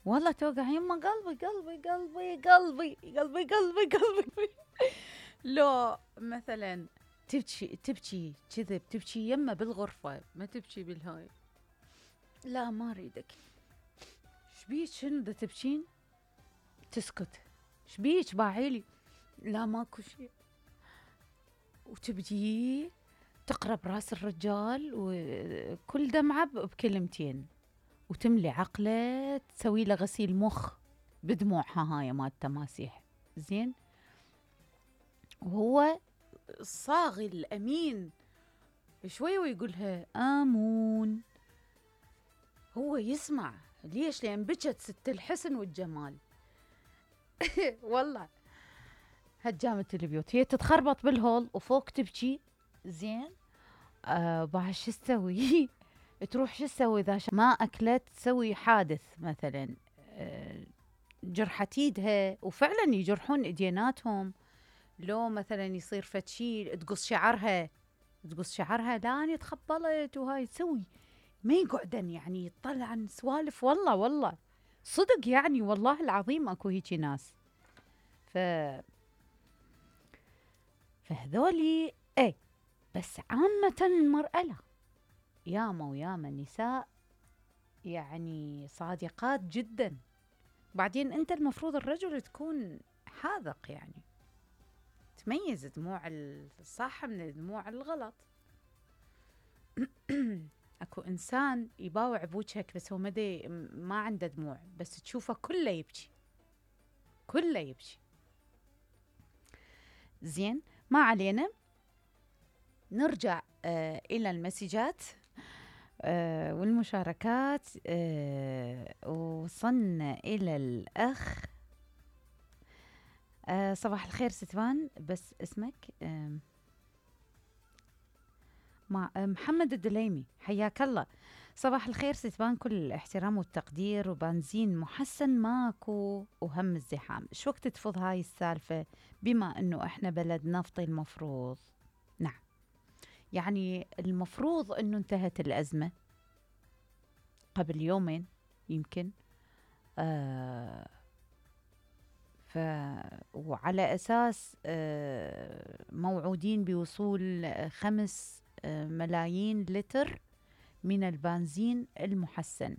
والله توقع يمه قلبي قلبي قلبي قلبي قلبي قلبي قلبي. لو مثلا تبكي كذب، تبكي يمه بالغرفة، ما تبكي بالهاي. لا ما اريدك. شبيك شنو دا تبكين؟ تسكت. شبيك باعيلي؟ لا ماكو شي. وتبدي تقرب راس الرجال وكل دمعة بكلمتين، وتملي عقله، تسوي له غسيل مخ بدموعها هاي مال التماسيح. زين. وهو الصاغي الأمين شوي ويقولها آمون. هو يسمع. ليش؟ لأن بجت ست الحسن والجمال. والله هجامة البيوت. هي تتخربط بالهول وفوق تبكي. زين. بعد شو تسوي؟ تروح شو تسوي إذا ما أكلت؟ تسوي حادث مثلا، جرحت ايدها، وفعلا يجرحون ايديناتهم. لو مثلا يصير فد شي تقص شعرها، تقص شعرها لاني تخبلت وهاي تسوي. ما يقعدن يعني يطلعن سوالف. والله والله صدق يعني، والله العظيم اكو هيجي ناس. فهذولي اي. بس عامة المرأة لا، ياما وياما نساء يعني صادقات جدا. بعدين انت المفروض الرجل تكون حاذق، يعني تميز دموع الصح من دموع الغلط. اكو انسان يباوع بوجهك بس هو ما عنده دموع، بس تشوفه كله يبكي، كله يبكي. زين، ما علينا. نرجع الى المسجات والمشاركات. وصلنا الى الاخ. صباح الخير ستوان، بس اسمك محمد الدليمي، حياك الله. صباح الخير ستوان، كل الاحترام والتقدير، وبنزين محسن ماكو وهم الزحام. شو وقت تفض هاي السالفة بما انه احنا بلد نفطي؟ المفروض نعم، يعني المفروض انه انتهت الازمة قبل يومين يمكن. وعلى أساس موعودين بوصول 5 ملايين لتر من البنزين المحسن.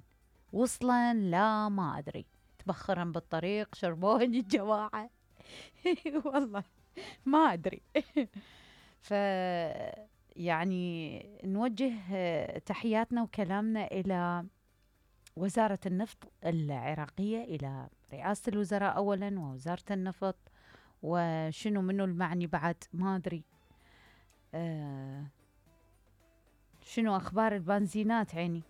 وصلا لا ما أدري، تبخرا بالطريق، شربوهن الجماعة. والله ما أدري. يعني نوجه تحياتنا وكلامنا إلى وزارة النفط العراقية، إلى رئاسة الوزراء أولا ووزارة النفط، وشنو منو المعني بعد ما أدري. شنو أخبار البنزينات عيني.